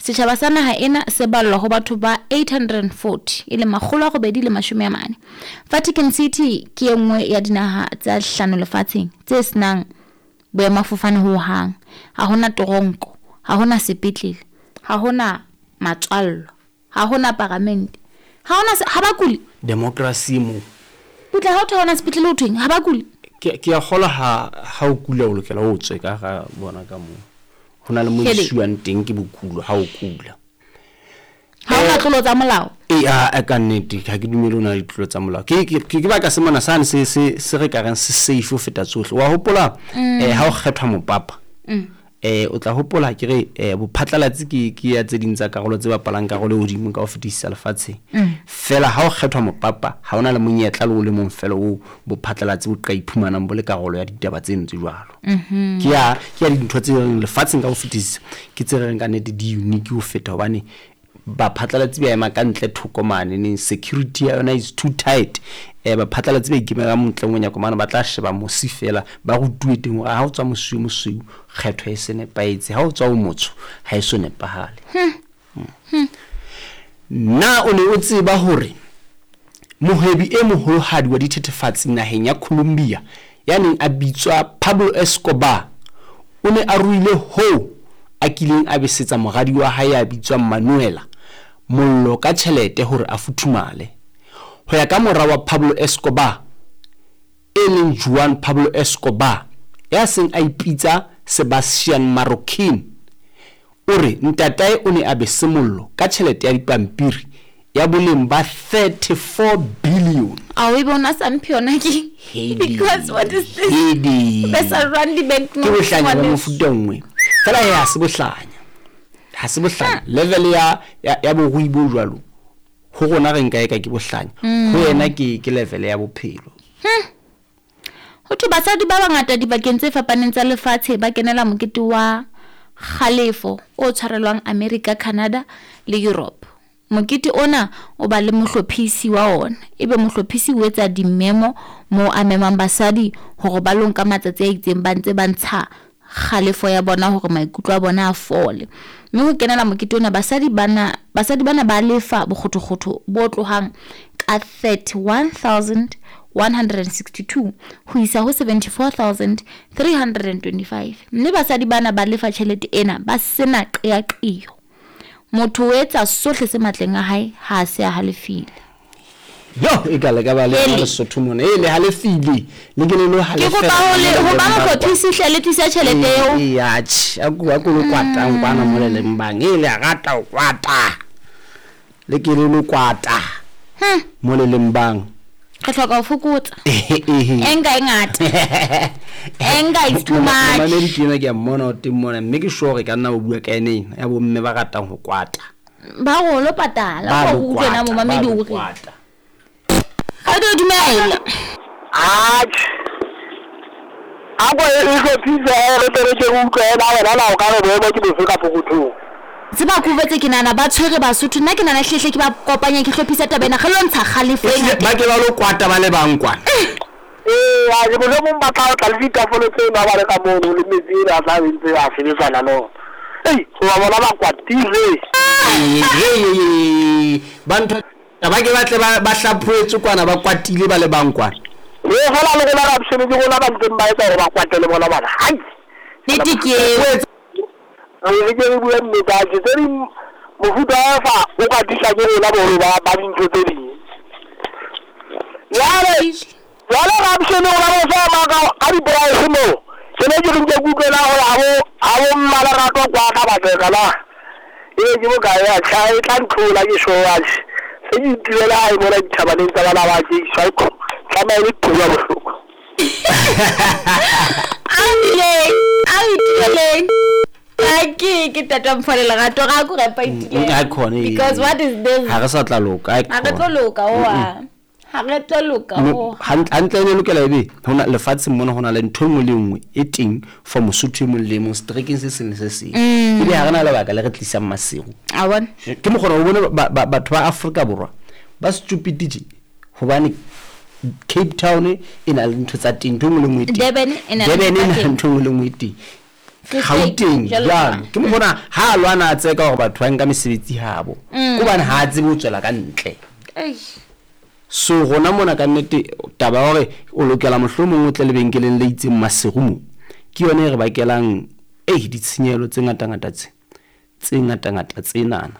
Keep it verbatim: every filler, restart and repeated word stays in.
Setjhaba sa naha ena se ballwa ho batho ba eight hundred forty, e leng makgolo a robedi le mashome a mane. Vatican City ke e nngwe ya dinaha tsa hlano lefatsheng tse senang boemafofane ho hang. Ha hona toronko, ha hona sepetlele, ha hona matswallo, ha hona paramente, ha hona se, ha ba kule. Democracy mo. Putla ha o thwe ha hona sepetlele ho thweng, ha ba kule. Ke, ke a kgolwa ha, ha o kula o lokela o tswe ka hara bona ka moo. Ho na le mo Hele. isiwang teng ke bokulo ha o kula. Ha hona Eh, tlolo tsa molao. E, a, a, ka nnete, ha ke dumele ho na le ditlolo tsa molao. Ke, ke, ke, ke baka se mona sane se, se, se re ka reng se safe ho feta tsohle. Wa hopola, Mm. eh, ha o kgethwa mopapa, Mm. eh, o tla hopola ke re, eh, bophatlalatsi ke, ke ya tse ding tsa karolo tse bapalang karolo e hodimo ka ho fetisisa lefatsheng. Mm. Fela ha o kgethwa mopapa, ha ona le monyetla le o le mong fela o bophatlalatsi bo ka iphumanang bo le karolo ya ditaba tseno tse jwalo. Mm-hmm. Ke ya, ke ya dintho tse reng lefatsheng ka ho fetisisa, ke tse reng ka nnete di unique ho feta hobane baphatlalatsi ba ema ka ntle thoko mane, neng security ya yona is too tight. Eh, baphatlalatsi ba ikemela montle monyako mane, ba tla sheba mosi fela, ba rutuwe teng hore ha o tswa mosi o mosweu, kgetho e se nepahetse, ha o tswa o motsho, ha e so nepahale. Hmm. Hmm. Na o ne o tseba hore mohwebi e moholohadi wa dithethefatsi naheng ya Colombia ya neng a bitswa Pablo Escobar o ne a ruile hoo a kileng a besetsa moradi wa hae ya bitswang Manuela mollo ka tjhelete hore a futhumale. Ho ya ka mora wa Pablo Escobar e leng Juan Pablo Escobar ya seng a ipitsa Sebastian Marroquin, o re ntatae o ne a bese mollo ka tjhelete ya dipampiri ya boleng ba thirty-four billion. A o e bona sa mphe yona ke? Hedi. Because what is this? Hedi. Besa run di bank Ke bohlanya ba notes. mofuta o nngwe. Fela he ha se bohlanya. Ha se bohlanya. Level ya, ya, ya borui bo jwalo, ho rona re nka e ka ke bohlanya. Mm. Ho yena ke, ke level ya bophelo. Hmm. Ho thwe basadi ba bangata dibakeng tse fapaneng tsa lefatshe ba kenela mokete wa kgalefo o tshwarelwang America, Canada le Europe. Mokete ona o ba le mohlophisi wa ona. Ebe mohlophisi o etsa dimemo moo a memang basadi hore ba lo nka matsatsi a itseng ba ntse ba ntsha kgalefo ya bona hore maikutlo a bona a fole. Mme ho kenela mokete ona basadi bana, basadi bana ba lefa bokgothokgotho bo tlohang ka thirty-one thousand one hundred and sixty-two ho isa ho seventy-four thousand three hundred and twenty-five. Mme basadi bana ba lefa tjhelete ena ba sena qeaqeo. Motho o etsa sohle se matleng a hae ha a se a halefile. Yo, e ka le ka ba le Ele. Lesotho mona. E le halefile. Le ke le lo Ke halefela. kopa ho le, ho ba mohlophisi hle le tlisa tjhelete eo. E, atjhe, a ku, a ku lo kwatang kwana mo le leng bang. E le a rata ho kwata. Le ke le lo kwata. Hmm. Mo le leng bang. Re hloka ho fokotsa. Ehe. Anger e ngata. Anger is too much. Mamedi ke yena ke a mmona o teng mona, mme ke sure ka nna o bua ka ene ena, ya bomme ba ratang ho kwata. Ba re o lo patala, Ba o lo utlwe na kwata, momamedi ba lo o re. kwata. Ga di dumela. Atjhe. A ko e hlophise, re tle re ke re utlwe na wena na o ka re boemo ke bofe ka pokothong. Tseba ke utlwetse ke nahana ba tshwere Basotho, nna ke nahana hlehle ke ba kopanya ke hlophisa taba ena, re lo ntsha kgalefo e Ehlile, ngata. ba ke ba lo kwata ba le bang kwana. Ee, a ke mohlomong ba tla tla le ditafole tseno ha ba le ka mono le metsi ena a tla be ntse a sebetsana le ona. Ei, hoba bona ba kwatile. Ee, ee, ee, ee, ba ntho ba ke ba tle ba, ba hlaphoetswe kwana, ba kwatile ba le bang kwana. Ee, feela le rona Rapshane, ke rona ba ntseng ba etsa hore ba kwate le bona bana. Hai! Nnete ke eo. Re re ke re bue nnete, atjhe, tse ding mofuta wa fa o ka tliswa ke rona boholo ba, ba dintho tse ding. Jwale, jwale Rapshane o la bo fa maka ka di-price moo. Ke ne ke re nke ke utlwe na hore ha bo, ha bo mmalerato kwa ka batlega na. Ebe ke bokae ya tjha, e tla ntlola ke sure atjhe. Se ke itulela hae mona dithabaneng tsa bana ba ke iswa e tlameha e le qhubu ya bohloko. A ileng, a itileng. A ke ke tata Mfole Lerato ga ko repa itileng. Mm, aikhona, ee. Because what is this? Ha re sa tla loka, Ha re tlo loka, oa. Ha re tlo loka, Mo- oa. hant-, hantle e ne lokela ebe ho na lefatsheng mona ho na le ntho e nngwe le nngwe e teng for Mosotho e mong le e mong seterekeng se seng le se seng. Mm. Ebe ha re na lebaka le re tlisang Maseru. A bona. Ke mokgona o bone ba, ba, batho ba Afrika Borwa ba stupid tje hobane Cape Town e na le ntho tsa teng, ntho e nngwe le nngwe e teng. Durban e na le Durban e ntho na tsa le teng. ntho e nngwe le nngwe e teng. Free State, Gauteng jwalo jwalo ka. Ke mokgona ha a lwana a tseka hore batho ba nka mesebetsi habo, Mm. ke hobane ha a tsebe ho tswela ka ntle. Eish. So rona mona ka nnete taba ya hore o lokela mohlomong o tle lebenkeleng le itseng Maseru mo, ke yona e re bakelang ei ditshenyehelo tse ngatangata tse tse ngatangata tsenana.